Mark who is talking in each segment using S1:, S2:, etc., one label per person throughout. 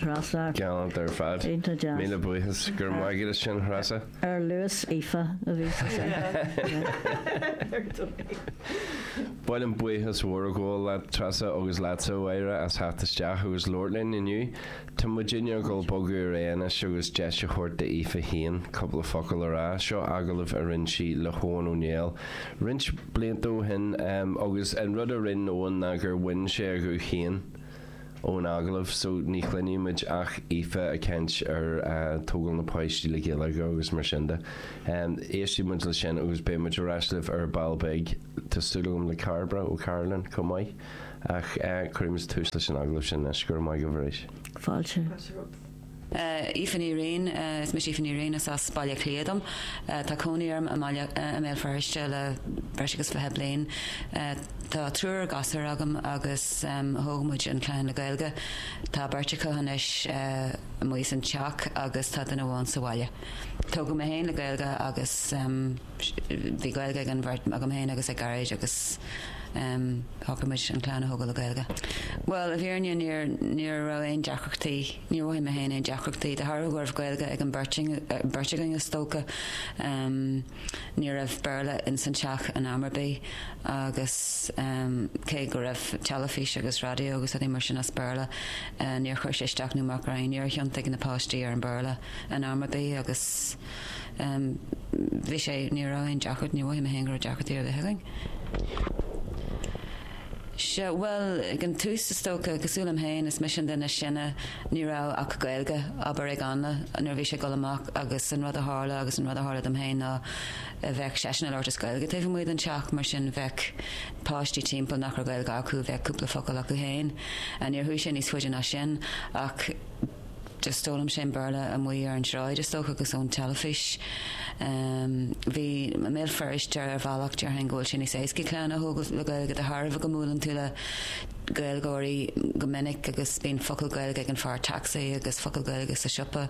S1: Treasa.
S2: Galánta ar fad.
S1: Iontach deas.
S2: Míle buíochas. Go raibh maith agat as sin, Threasa.
S1: Ar luas Aoife a bhí sé sin.
S2: Ba mhaith liom buíochas mhór a ghabháil leat, Treasa, agus leatsa, a Mháire, as theacht isteach agus labhairt linn inniu. Tá muidinne ag dul bogadh ar aghaidh anois agus deis a thabhairt d'Aoife féin cúpla focal a rá. Seo agallamh a rinne sí le hEoghan Ó Néill roinnt blianta ó shin agus an rud a rinne Eoghan ná gur bhain sé a ghuth féin ón agallamh so ní chluinfidh muid ach Aoife ag caint ar tógáil na páistí le Gaeilge agus mar sin de. Éistfidh muid le sin agus beidh muid ar ais libh ar ball beag. Tá súil agam le Cairbre ó Carolyn chomh maith. Ach cuirfidh muid tús leis an agallamh sin anois. Go raibh maith agaibh arís.
S1: Fáilte.
S3: Aoife Ní Riain, Is mise Aoife Ní Riain, is as Baile Átha Cliath dom. Tá cónaí orm i mBaile, i mBéal Feirste le breis agus 20 bliain. Tá triúr gasúr agam agus thóg muid an chlann le Gaeilge. Tá beirt acu anois amuigh as an teach agus tá duine amháin sa bhaile. Tógadh mé féin le Gaeilge agus. Bhí Gaeilge ag an bheirt, agam féin agus ag Gearóid agus shocraigh muid an chlann a thógáil le Gaeilge. Bhuel, i bhfírinne níor, ní raibh aon deacrachtaí, níor mhothaigh mé féin aon deacrachtaí, de thairbhe go raibh Gaeilge ag an beirt, beirt againn is dócha. Ní raibh Béarla ins an teach in am ar bith agus cé go raibh teilifís agus raidió agus rudaí mar sin as Béarla, níor chuir sé isteach nó amach orainn, níor thiontaigh na páistí ar an Bhéarla in am ar bith agus. Bhí sé, ní raibh aon deacracht, níor mhothaigh mé féin go raibh deacrachtaí ar bith againn. Sea, bhuel, ag an tús is dócha, cosúil liom féin, is mise an duine is sine, ní raibh ach Gaeilge, abair, ag Anla nuair a bhí sé ag dul amach agus an rud a tharla agus an rud a tharla dom féin ná bheadh seisean ag labhairt as Gaeilge taobh amuigh den teach, mar sin bheadh páistí timpeall nach raibh Gaeilge acu, bheadh cúpla focal acu féin. Níor chuaigh sé níos faide ná sin ach. Just d'fhoghlaim sé an Béarla amuigh ar an tsráid is dócha agus ón teilifís. Bhí i mBéal Feirste ar bhealach déarfainn go bhfuil sé níos éasca clann a thógáil le Gaeilge de thairbhe go mbuaileann tú le Gaeilgeoirí go minic agus bíonn focal Gaeilge ag an fear taxi agus focal Gaeilge sa siopa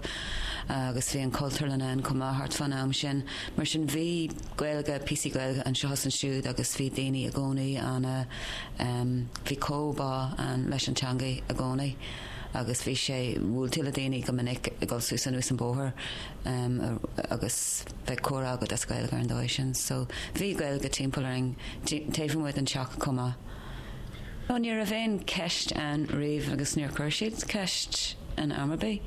S3: agus bhí an Chultúrlann ann chomh maith thart fán am sin. Mar sin bhí Gaeilge, píosaí Gaeilge anseo is ansiúd agus bhí daoine i gcónaí ana, bhí comhbhá ann leis an teanga i gcónaí. agus bhí sé, bhuail tú le daoine go minic ag dul suas anuas an bóthar agus bheadh comhrá agat as Gaeilge ar an dóigh sin. So bhí Gaeilge timpeall orainn, taobh amuigh den teach chomh maith. No, ní raibh aon cheist ann riamh agus níor chuir siad ceist in am ar bith.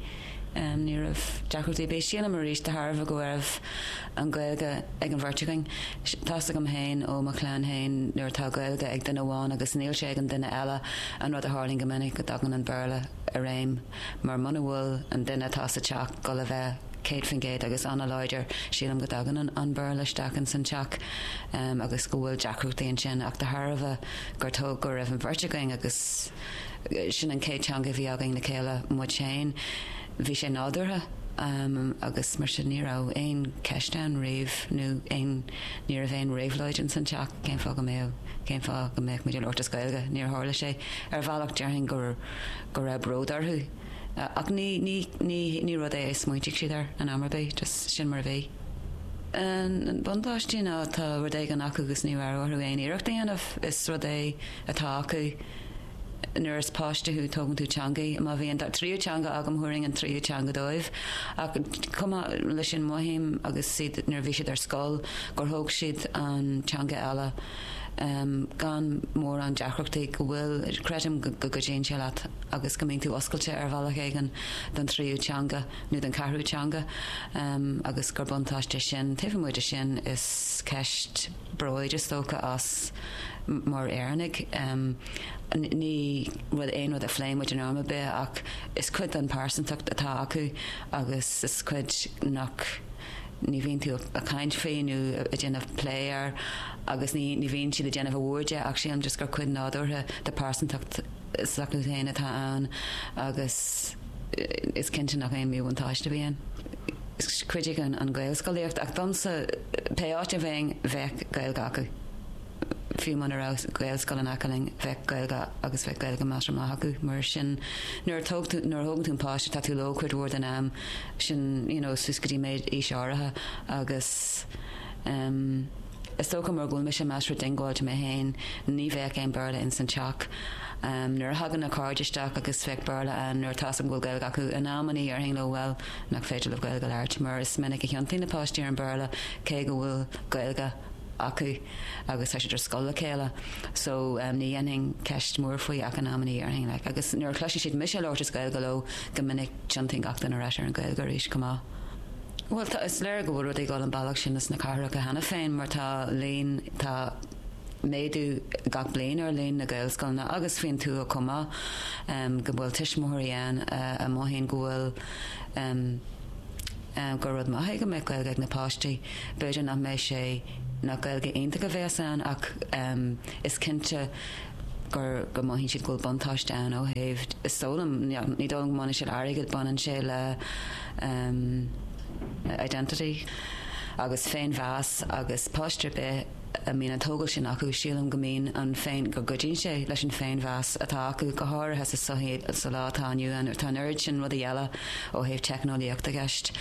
S3: Ní raibh deacrachtaí ar bith. Sílim arís de thairbhe go raibh an Ghaeilge ag an bheirt againn. Tá's agam féin ó mo chlann féin nuair atá Gaeilge ag duine amháin agus níl sé ag an duine eile, an rud a tharlaíonn go minic go dtagann an Béarla i réim mar muna bhfuil an duine atá sa teach dul a bheith 100% agus an-láidir, sílim go dtagann an Béarla isteach ins an teach agus go bhfuil deacrachtaí ansin ach de thairbhe gur tóg go raibh an bheirt againn agus sin an chéad teanga a bhí againn le chéile, muid féin. Bhí sé nádúrtha agus mar sin ní raibh aon cheist ann riamh nó aon, ní raibh aon réabhlóid ins an teach cén fáth go mbeadh, cén fáth go mbeadh muid ag labhairt as Gaeilge. Níor tharla sé. Ar bhealach déarfainn gur, go raibh bród orthu ach ní, ní, ní, ní rud é a smaointigh siad air in am ar bith, just sin mar a bhí. An buntáiste ná tá rud éigin acu agus ní raibh orthu aon iarracht a dhéanamh, is rud é atá acu. Nuair is páiste thú tógann tú teangaí. Má bhí an tríú teanga agam thabharfainn an tríú teanga dóibh. Ach chomh maith leis sin mothaím agus iad nuair a bhí siad ar scoil gur thóg siad an teanga eile gan mórán deacrachtaí go bhfuil, creidim go gcuidíonn sé leat agus go mbíonn tú oscailte ar bhealach éigin don tríú teanga nó don ceathrú teanga agus gur buntáiste sin. Taobh amuigh de sin is ceist bróid is dócha as mar Éireannaigh. Ní rud aon rud a phléann muid in am ar bith ach is cuid den pearsantacht atá acu agus is cuid nach ní bhíonn tú ag caint faoi nó ag déanamh plé air agus ní ní bhíonn siad ag déanamh a mhór de ach sílim just gur cuid nádúrtha de pearsantacht s'acu féin atá ann agus is cinnte nach aon mhíbhuntáiste a bhí ann. Chuidigh an Ghaelscolaíocht ach domsa pé áit a bheinn bheadh Gaeilge acu. Fiú muna raibh Gaelscoil in aice linn bheadh Gaeilge agus bheadh Gaeilge measartha maith acu mar sin nuair a tóg tú nuair a thógann tú an páiste tá tú leo cuid mhór den am sin you know suas go dtí méid aois áirithe agus em is dócha mar go bhfuil mise measartha diongbháilte mé féin ní bheadh aon Béarla ins an teach. Nuair a thagann na cairde isteach agus bheadh Béarla ann nuair atá 'fhios agam go bhfuil Gaeilge acu, in amannaí déarfainn leo bhuel, nach féidir libh Gaeilge a labhairt mar is minic a thiontaíonn na páistí ar an Béarla cé go bhfuil Gaeilge acu agus tá siad ar scoil le chéile so ní dhéanfainn ceist mhór faoi ach in amannaí déarfainn like agus nuair a chloiseann siad mise ag labhairt as Gaeilge leo go minic tiontaíonn gach duine ar ais ar an Ghaeilge arís chomh maith. Bhuel tá, is léir go bhfuil rudaí ag dul an bealach sin sna cathracha cheana féin mar tá líon, tá méadú gach bliain ar líon na Gaelscoileanna agus faoin tuath chomh maith, go bhfuil tuismitheoirí ann a mothaíonn go bhfuil gur rud maith é go mbeadh Gaeilge ag na páistí. B'fhéidir nach mbeidh sé, nach Gaeilge iontach a bheas ann ach is cinnte gur, go mothaíonn siad go bhfuil buntáiste ann ó thaobh, is dóigh liom, ní dóigh liom go mbaineann sé le airgead, baineann sé le identity agus féinmheas agus páiste ar bith a mbíonn an tógáil sin acu, sílim go mbíonn an féin, go gcuidíonn sé leis an féinmheas atá acu, go háirithe sa sochaí sa lá atá inniu ann, tá an oiread sin rudaí eile ó thaobh teicneolaíochta i gceist.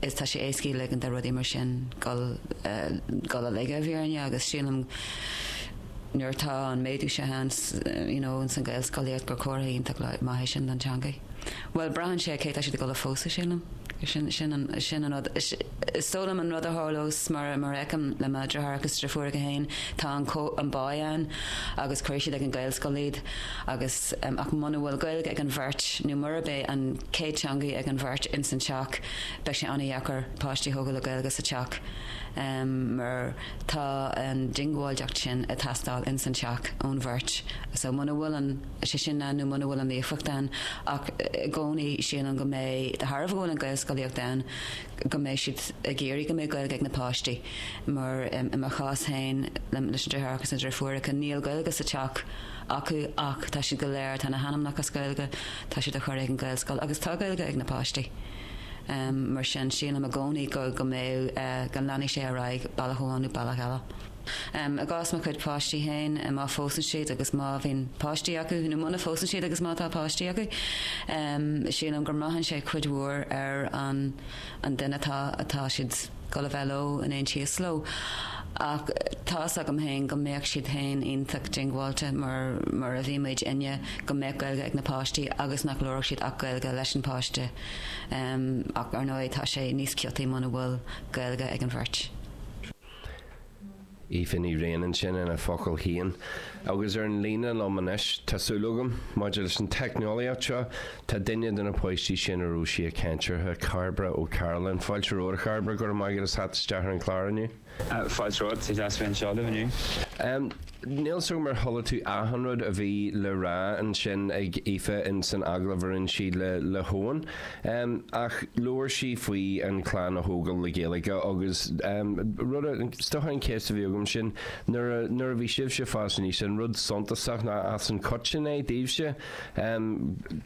S3: Is tá sé éascaí ligean do rudaí mar sin dul dul i laige i bhfírinne agus sílim nuair atá an méadú seo ann you know ins an Ghaelscolaíocht gur comhartha iontach maith é sin don teangaidh. Bhuel braitheann sé cé tá siad ag dul a phósadh sílim. Sin sin an sin an rud. Is dóigh liom an rud a tharlós mar mar a fheicim le mo dheartháireacha agus deirfiúracha féin, tá an an bá ann agus cuirfidh siad ag an Ghaelscoil iad agus ach muna bhfuil Gaeilge ag an bheirt nó murab é an chéad teangaidh ag an bheirt ins an teach beidh sé an-dheacair páistí a thógáil le Gaeilge sa teach mar tá an diongbháilteacht sin ag teastáil ins an teach ón bheirt so muna bhfuil an sé sin ann nó muna bhfuil an líofacht ann ach i gcónaí sílim go mbeidh, de thairbhe go bhfuil an Ghaelscolaíocht ann, go mbeidh siad ag iarraidh go mbeidh Gaeilge ag na páistí mar i mo chás féin leis na deartháireacha agus na deirfiúracha níl Gaeilge sa teach acu ach tá siad go léir, tá na hainmneacha as Gaeilge, tá siad á chur ag an Ghaelscoil agus tá Gaeilge ag na páistí. Mar sin sílim i gcónaí go go mbeidh, go leanfaidh sé ar aghaidh bealach amháin nó bealach eile. I gcás mo chuid páistí féin, má phósann siad agus má bhíonn páistí acu, nó muna phósann siad agus má tá páistí acu, sílim go mbraitheann sé cuid mhór ar an an duine atá atá siad dul a bheith leo, in aon tíos leo. Ach tá's agam féin go mbeadh siad féin iontach diongbháilte mar mar a bhí muidinne go mbeadh Gaeilge ag na páistí agus nach labhródh siad ach Gaeilge leis an páiste. Ach ar ndóigh tá sé níos ciotaí muna bhfuil Gaeilge ag an bheirt.
S2: Aoife Ní Riain ansin ina focail féin. Agus ar an líne liom anois, tá súil agam, maidir leis an teicneolaíocht seo, tá duine de na páistí sin a raibh sí ag caint orthu, Cairbre Ó Cairealláin. Fáilte romhat, a Chairbre, go raibh maith agat as theacht isteach ar an chlár inniu.
S4: Fáilte romhat, is deas bheith anseo libh inniu.
S2: Níl 's agam ar chuala tú achan rud a bhí le rá ansin ag Aoife in san agallamh a rinne sí le le hEoin, ach labhair sí faoi an clann a thógáil le Gaeilge agus rud a, is dócha an cheist a bhí agam sin, nuair a nuair a bhí sibhse ag fás aníos, an rud suntasach nó as an coiteann é daoibhse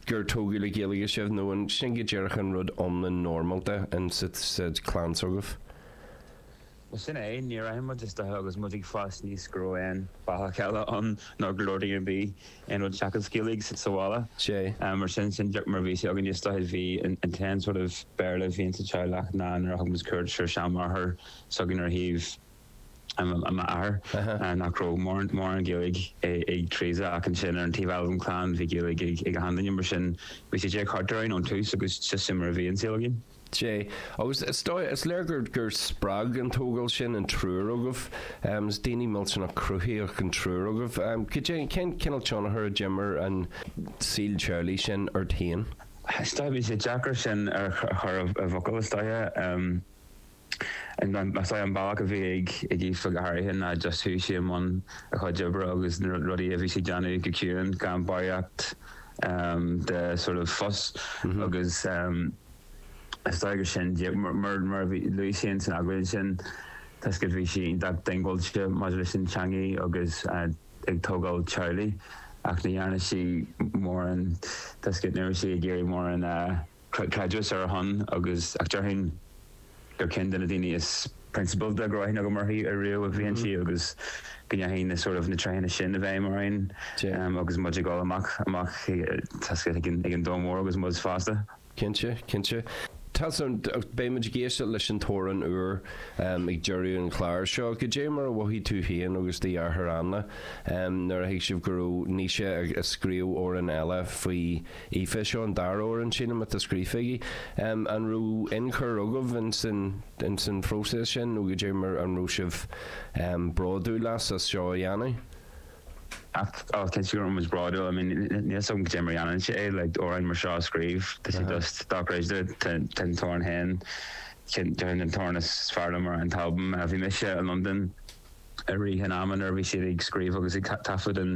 S2: gur tógadh le Gaeilge sibh nó an sin go díreach an rud iomlán normálta in sa sa chlann s'agaibh?
S4: Bhuel, sin é, níor aithin muid is dóiche agus muid ag fás aníos go raibh aon bhealach eile ann nó go labhraíonn duine ar bith aon rud seachas Gaeilge sa bhaile.
S2: Sea.
S4: Mar sin, sin díreach mar a bhí sé againn is dóiche. Bhí an t-aon sort of Béarla a bhí sa teaghlach ná nuair a thug muid cuairt ar seanmháthair s'againn ar thaobh m'athar, nach raibh mórán Gaeilge ag Teresa ach ansin ar an taobh eile den chlann bhí Gaeilge ag achan duine mar sin bhí sé díreach thart orainn ón tús agus just sin mar a bhí an saol againn.
S2: Sea. Agus is dóigh, is léir gur, gur spreag an tógáil sin an triúr agaibh. Is daoine millteanach cruthaitheach an triúr agaibh. Cad é, cén cineál tionchar a d'imir an saol teaghlaigh sin ort féin?
S4: Is dóigh, bhí sé deacair sin a chur i bhfocail, is dóiche. Is dóigh an bealach a bhí ag Aoife go háirithe ná just chuaigh sí i mbun a chuid oibre agus na rudaí a bhí sí ag déanamh go ciúin gan barraíocht de sort of fuss agus is dóigh gur sin mar mar a bhí luaigh sí in san agallamh ansin toisc go bhí sí iontach diongbháilte maidir leis an teangaidh agus ag tógáil teaghlaigh ach ní dhearna sí mórán toisc ní raibh sí ag iarraidh mórán creidmheas ar a shon agus ach déarfainn gur ceann de na daoine is prionsabálta go raibh aithne agam uirthi ariamh a bhí inti agus go ndeachaigh na sort of na tréitheanna sin i bhfeidhm orainn agus muid ag dul amach amach ag an ag an domhan mór agus muid fásta.
S2: Cinnte, cinnte. Tá san, beidh muid ag éisteacht leis an t-amhrán úr ag deireadh an chláir seo. Goidé mar a mhothaigh tú féin agus do dheartháir Ainle nuair a thuig sibh go raibh Naoise ag scríobh amhrán eile faoi Aoife? Seo an dara amhrán, sílim, atá scríofa aige. An raibh ionchur agaibh ins an ins an phróiseas sin nó goidé mar an raibh sibh bródúil as as seo a dhéanamh?
S4: Ach oh cinnte go raibh muid bródúil, I mean níl 's agam goidé mar a dhéanann sé é, like amhráin mar seo a scríobh, tá sé just dochreidte, tá an t-amhrán féin, déarfainn an t-amhrán is fearr liom ar an t-albam. Bhí mise i Londain i rith an ama nuair a bhí siad ag scríobh agus ag taifead an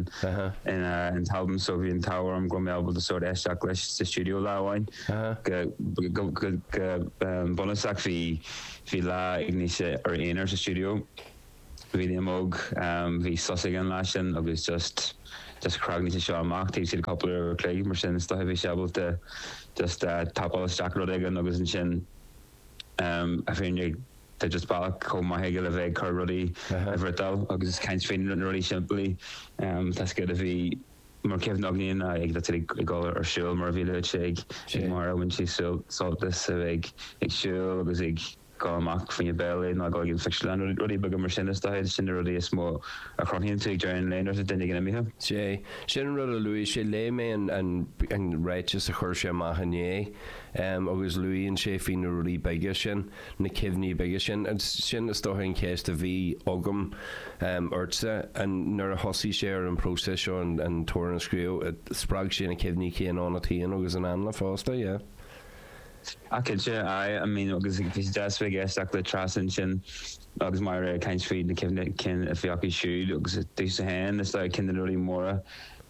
S4: an t-albam so bhí an t-ádh orm go raibh mé ábalta sort éisteacht leis sa stiúideo lá amháin. Go go go go bunúsach bhí bhí lá ag Naoise ar a aonar sa stiúideo. Bhí Liam Óg, bhí sos aige an lá sin agus just, just chrag Naoise seo amach taobh istigh de cúpla uair a chloig, mar sin is dóiche bhí sé ábalta just tapáil isteach rud éigin agus ansin a fhírinne tá just bealach chomh maith aige le bheith ag cur rudaí i bhfriotal agus caint faoi na rudaí simplí tá 's agat a bhí mar chuimhne againne ná ag ag dul ar siúl mar a bhí luaite ag Máire bhain sí sult as a bheith ag siúl agus ag dul amach fá choinne béile nó dul ag an phictiúrlann, rudaí beaga mar sin is dóiche, sin na rudaí is mó a chruthaíonn tú ag deireadh an lae nuair atá duine éigin imithe.
S2: Sea, sin an rud a luaigh sé. Léigh mé an ráiteas a chuir sé amach inné agus luíonn sé faoi na rudaí beaga sin, na cuimhní beaga sin. Sin is dócha an cheist a bhí agam ortsa, an nuair a thosaigh sé ar an bpróiseas seo an t-amhrán a scríobh, spreag sé na cuimhní céanna ionat féin agus in Ainle fosta, yeah?
S4: Ah cinnte, aye, I mean agus bhí sé deas bheith ag éisteacht le Treasa ansin agus Máire ag caint faoi na cuimhní cinn a bhí acu siúd agus domhsa féin is dóigh ceann de na rudaí móra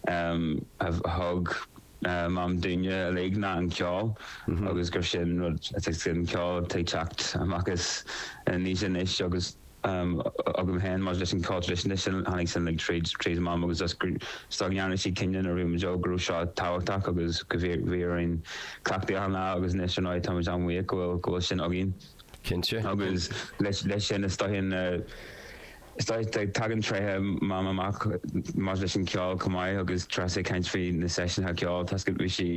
S4: a thug Mam dúinne uilig ná an ceol agus gur sin rud an ceol atá ag teacht amach as Naoise anois agus agam féin maidir leis an cheol traidisiúnta sin, tháinig sin uilig tríd, tríd Mam agus just go, is dóigh go ndearna sí cinneadh nuair a bhí muid óg go raibh seo tábhachtach agus go bhí, bhí orainn cleachtadh achan lá agus anois ar ndóigh tá muid an-bhuíoch go bhfuil, go bhfuil sin againn.
S2: Cinnte.
S4: Agus leis, leis sin is dóigh na, is dóigh tagann tréithe Mam amach maidir leis an cheol chomh maith agus Treasa ag caint faoi na seisiúnacha ceoil, tá 's agat bhí sí,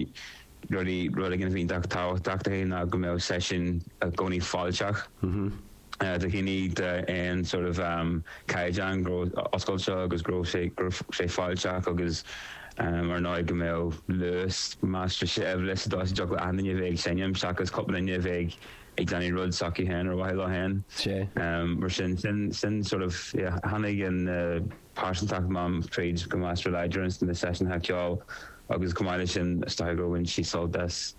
S4: rudaí, rud éigin a bhí iontach tábhachtach di ná go mbeadh seisiún i gcónaí fáilteach do dhaoine d'aon sort of caighdeán, go raibh oscailte agus go raibh sé, go raibh sé fáilteach agus ar ndóigh go mbeadh luas measartha seirbhile sa dóigh is go dtiocfadh le achan duine a bheith ag seinm seachas cúpla duine a bheith ag déanamh rud s'acu féin ar mhaithe leo féin. Mar sin, sin, sin sort of, yeah, tháinig an pearsantacht Mam tríd go measartha láidir ins na seisiúnacha ceoil agus chomh maith leis sin is dóiche gur bhain sí sult as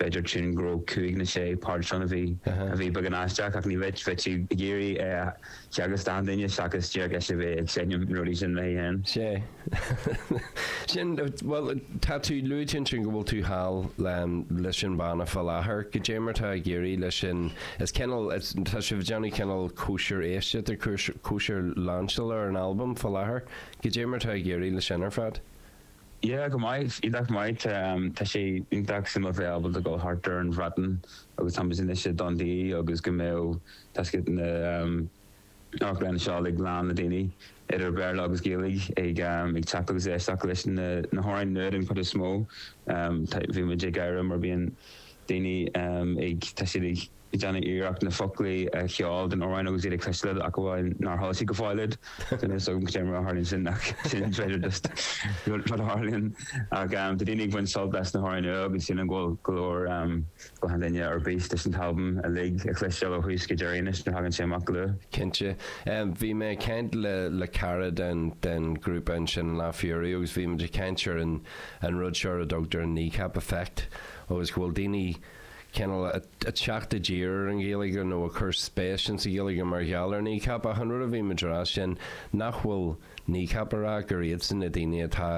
S4: b'fhéidir tiún go raibh cúig nó sé port ann a bhí a bhí beagán aisteach ach ní bheadh bheadh sí ag iarraidh é a theagasc d'achan duine seachas díreach ise a bheith ag seinm na rudaí sin léi féin.
S2: Sea. Sin, bhuel, tá tú, luaigh tú ansin go bhfuil tú thall leis an bhanna fá láthair. Goidé mar atá ag éirí leis sin? Is cineál, is, tá sibh ag déanamh cineál cóisir éisteachta, cóisir lainseála ar an albam fá láthair. Goidé mar atá ag éirí leis sin ar fad?
S4: Yeah, go maith, iontach maith. Tá sé iontach suimiúil bheith ábalta dul thart ar an Bhreatain agus tá muid anois i Dundee agus go mbeadh, tá 's agat na amharclanna seo uilig lán le daoine, idir Béarla agus Gaeilge, ag ag teacht agus éisteacht leis na na hamhráin nua den chuid is mó. Bhí muid ag gáire mar bíonn daoine ag, tá siad ag déanamh iarracht na foclaí a cheol den amhrán agus iad ag cloisteáil iad ach amháin nár chuala siad go fóill iad. So níl 's agam cad é mar a tharlaíonn sin ach sin b'fhéidir just rud a tharlaíonn. Ach tá daoine ag baint sult as na hamhráin nua agus sílim go bhfuil go leor go leor daoine ar bís leis an t-albam uilig a chloisteáil ó thús go deireadh anois nuair a thagann sé amach go luath.
S2: Cinnte. Bhí mé ag caint le le cara den den ghrúpa ansin an lá faoi dheireadh agus bhí muid ag caint ar an an rud seo ar a dtugtar an Kneecap effect agus go bhfuil daoine cineál ag teacht i dtír ar an Ghaeilge nó ag cur spéis insa Ghaeilge mar gheall ar Kneecap ach an rud a bhí muid a rá sin nach bhfuil Kneecap a rá gur iadsan na daoine atá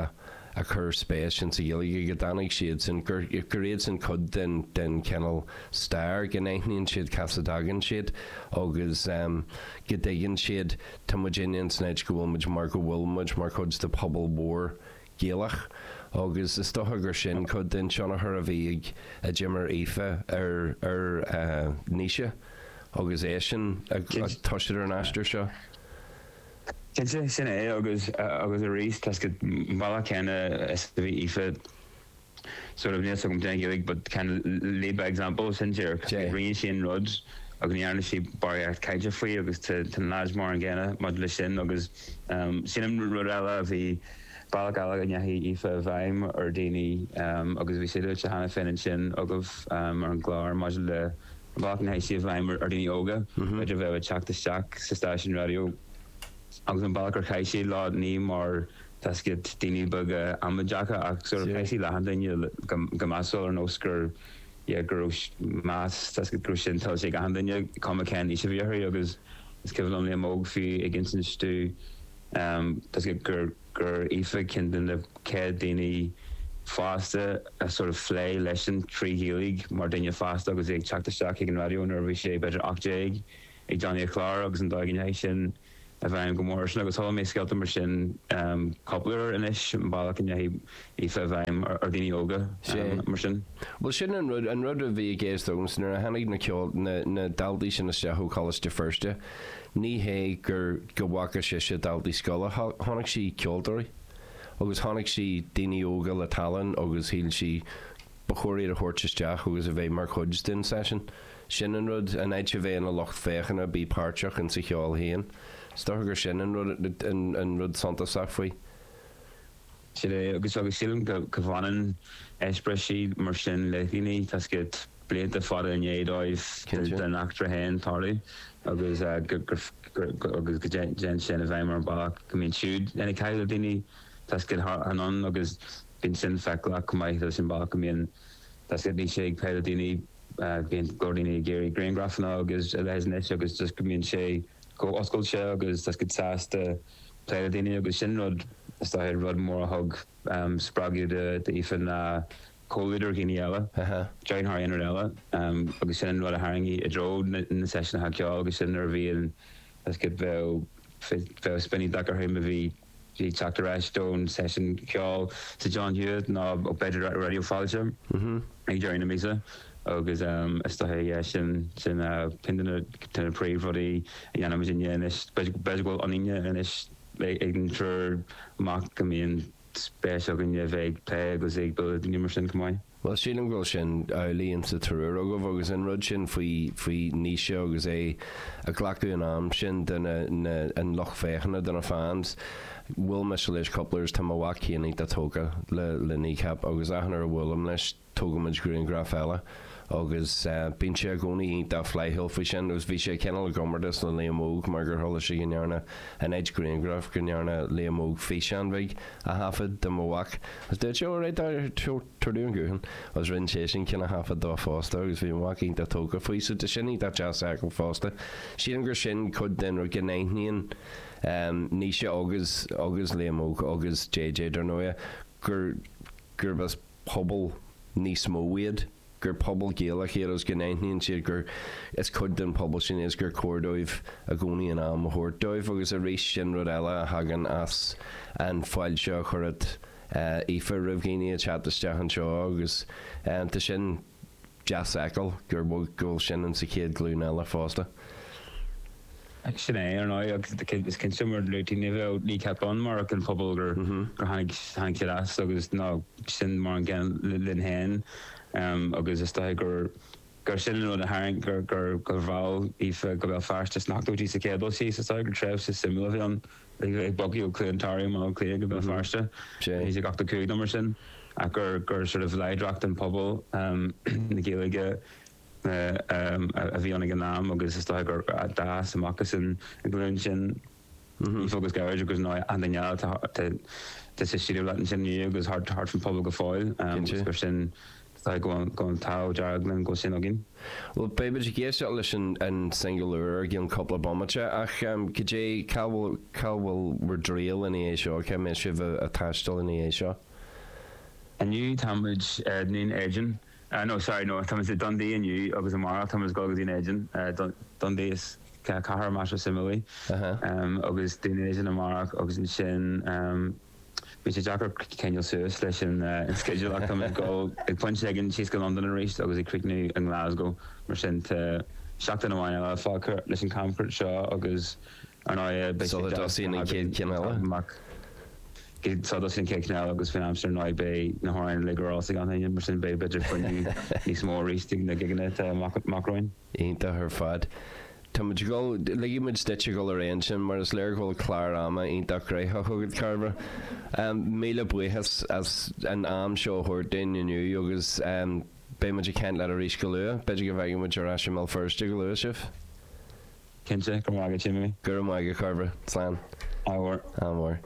S2: ag cur spéis insa Ghaeilge, go dtáinig siadsan, gur gur iadsan cuid den den chineál stair, go n-aithníonn siad cá as a dtagann siad agus go dtuigeann siad tá muidinne insan áit go bhfuil muid mar go bhfuil muid mar chuid de phobal mhór Gaelach agus is dócha gur sin cuid den tionchar a bhí ag a d'imir Aoife ar ar Naoise agus eisean ag toiseacht ar an aistear seo.
S4: Cinnte, sin é agus agus arís tá 's agat an bealach céanna is a bhí Aoife. sort of níl 's agam cén Ghaeilge but kind of lead by example sin díreach rinne sí an rud agus ní dhearna sí barraíocht cainte faoi agus tá na lads mar an gcéanna maidir leis sin agus sílim rud eile a bhí bealach eile go ndeachaigh Aoife i bhfeidhm ar dhaoine agus bhí sé luaite cheana féin ansin agaibh ar an gclár maidir le an bealach a ndeachaigh sí i bhfeidhm ar dhaoine óga b'fhéidir a bheadh ag teacht isteach sa stáisiún raidió agus an bealach ar chaith sí leo ní mar tá 's agat daoine beaga amaideacha ach sort of chaith sí le achan duine go measúil ar nós gur yeah go raibh meas tá 's agat go raibh sin tuillte ag achan duine cuma cén aois a bhí orthu agus is cuimhin liom Liam Óg fiú ag insint domh tá 's agat gur gur Aoife ceann de na chéad daoine fásta a sort of phléigh leisean trí Ghaeilge mar duine fásta agus é ag teacht isteach chuig an raidió nuair a bhí sé b'fhéidir 18 ag déanamh a chlár agus an dóigh a ndeachaigh sin i bhfeidhm go mór airsean agus chuala mé scéalta mar sin cúpla uair anois, an bealach a ndeachaigh Aoife i bhfeidhm ar dhaoine óga mar sin.
S2: Bhuel sin an rud, an rud a bhí i gceist agamsa nuair a tháinig na ceol, na, na daltaí sin isteach ó Choláiste Feirste, ní hé gur, go bhfaca sise daltaí scoile, chonaic sí ceoltóirí agus chonaic sí daoine óga le tallann agus shíl sí ba chóir iad a thabhairt isteach agus a bheith mar chuid den seisiún. Sin an rud, in áit a bheith ina lucht féachana, bí páirteach insa cheol féin. Is dócha gur sin an rud, an rud suntasach faoi.
S4: Sin é, agus agus sílim go go bhfanann eispéirisí mar sin le daoine, tá 's agat, blianta fada i ndiaidh dóibh den eachtra féin tarlú agus go go agus go dtéann sin i bhfeidhm ar an bealach go mbíonn siúd ina caitheamh le daoine, tá 's agat, thar anonn agus bíonn sin feiceálach chomh maith leis an bealach go mbíonn, tá 's agat, Naoise ag plé le daoine. Bíonn go leor daoine ag iarraidh grianghrafanna agus a leithéid anois agus just go mbíonn sé chomh oscailte agus tá siad sásta plé le daoine agus sin rud is dóiche rud mór a thug spreagadh d'Aoife ná comhluadar dhaoine eile, déarfainn thar aon rud eile agus sin an rud a tharraing í i dtreo na seisiúnacha ceoil agus sin nuair a bhíonn tá 's agat bheadh bheadh spion iontach uirthi má bhí bhí teacht ar ais don seisiún ceoil sa John Hewitt nó b'fhéidir Raidió Fáilte ag deireadh na míosa agus is dóiche yeah sin sin ceann de na de na príomhrudaí a dhéanaimid inniu anois. B'fhéidir go bhfuil ionainne anois ag an triúr mac go mbíonn spéis againn a bheith ag plé agus ag bualadh le daoine mar sin chomh maith.
S2: Bhuel, sílim go bhfuil sin amhlaidh insa triúr agaibh agus an rud sin faoi, faoi Naoise agus é ag glacadh an am sin do na, na, an lucht féachana, do na fans. Bhuail mise leis cúpla uair is tá mo mhac féin iontach tógtha le, le Kneecap agus achan uair a bhuailim leis tógaimid grianghraf eile agus bíonn sé i gcónaí iontach flaithiúil faoi sin agus bhí sé cineál i gcomórtas le Liam Óg mar gur chuala sé go ndearna in áit grianghraf go ndearna Liam Óg físeán bheag a thaifead do mo mhac agus dúirt sé alright tabhair domh an guthán agus rinne seisean ceann a thaifead dó fosta agus bhí mo mhac iontach tógtha faoi so tá sin iontach deas a fheiceáil fosta. Sílim gur sin cuid den rud go n-aithníonn Naoise agus agus Liam Óg agus JJ dar ndóighe gur gurb as pobal níos mó iad, gur pobal Gaelach iad agus go n-aithníonn siad gur is cuid den phobal sin iad agus gur cóir dóibh i gcónaí an am a thabhairt dóibh agus arís sin rud eile a thagann as an fáilte a chuireann Aoife roimh dhaoine ag teacht isteach anseo agus tá sin deas a fheiceáil gur go bhfuil sin in sa chéad ghlúin eile fosta.
S4: Sin é, ar ndóigh, agus is cinnte mar luaigh tú ní bheadh Kneecap ann murach an pobal gur tháinig siad as agus nó sin mar an gcéanna linn féin agus is dóiche gur gur sin an rud a tharraing gur gur gur mheall Aoife go Béal Feirste sna hochtóidí sa chéad dul síos is dóiche gur tréimhse suimiúil a bhí ann ag bogadh ó Cluain Tarbh i mBaile Átha Cliath go Béal Feirste 1985 nó mar sin ach gur gur sort of láidreacht an pobal na Gaeilge a bhí ann ag an am agus is dóiche gur d'fhás amach as an ghlúin sin Aoife agus Gearóid agus nó an duine eile atá sa stiúideo leat ansin inniu agus thart faoin phobal go fóill agus gur sin is dóiche go bhfuil an t-ádh dearg linn go bhfuil sin againn.
S2: Bhuel, beidh muid ag éisteacht leis an singil úr i gceann cúpla bomaite ach cad é, cá bhfuil, cá bhfuil bhur dtriall ina dhiaidh seo, cá mbeidh sibh ag taisteal ina dhiaidh seo?
S4: Inniu tá muid i nDún Éideann. No, sorry, no, tá muid i Dundee inniu agus amárach tá muid ag dul go Dún Éideann. Dundee is cathair measartha suimiúil í. Agus Dún Éideann amárach agus ansin bhí sé deacair coinneáil suas leis an sceideal ach tá muid ag dul ag pointe éigin síos go Londain arís agus ag críochnú i nGlasgow. Mar sin tá seachtain amháin eile fágtha leis an camchuairt seo agus ar ndóigh beidh sé
S2: Sula
S4: deas
S2: dtosaíonn an chéad cheann eile.
S4: amach. So thosaigh an chéad cheann eile agus faoin am sin ar ndóigh beidh na hamhráin uilig ar eolas ag gach éinne mar sin beidh b'fhéidir fuinneamh níos mó arís ag na gigeanna atá amach romhainn.
S2: Iontach ar fad. Tá muid ag dul, ligfidh muid duit a dhul ar aghaidh ansin mar is léir go bhfuil clár ama iontach gnoitheach agat, Cairbre. Míle buíochas as an am seo a thabhairt dúinn inniu agus beidh muid ag caint leat arís go luath. B'fhéidir go bhfeicfidh muid ar ais i mBéal Feirste go luath sibh.
S4: Cinnte, go raibh maith agat, Jimmy.
S2: Go raibh maith agat, a Chairbre. Slán.
S4: Ádh mhór.
S2: Ádh mhór.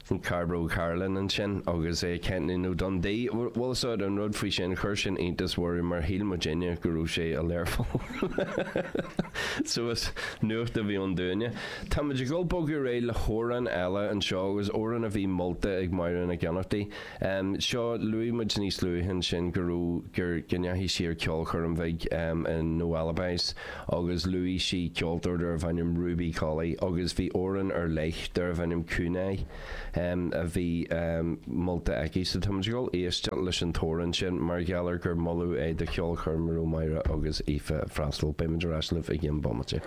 S2: Sin Cairbre Ó Cairealláin ansin agus é ag caint linn ó Dundee. Bhfuil fhios agat an rud faoi sin, chuir sin iontas orainn mar shíl muidinne go raibh sé i Learpholl. So is nuacht a bhí ann dúinne. Tá muid ag dul bogadh ar aghaidh le hamhrán eile anseo agus amhrán a bhí molta ag Máire Nic Fhionnachtaigh. Seo, luaigh muid níos luaithe ansin go raibh, gur, go ndeachaigh sí ar ceolchoirm bhig in No Alibis agus luaigh sí ceoltóir darbh ainm Ruby Colley agus bhí amhrán ar leith darbh ainm Kunai a bhí molta aici. So tá muid ag dul éisteacht leis an t-amhrán sin mar gheall ar gur moladh é do cheolchoirm a raibh Máire agus Aoife ag freastal. Beidh muid ar ais libh i gcionn bomaite.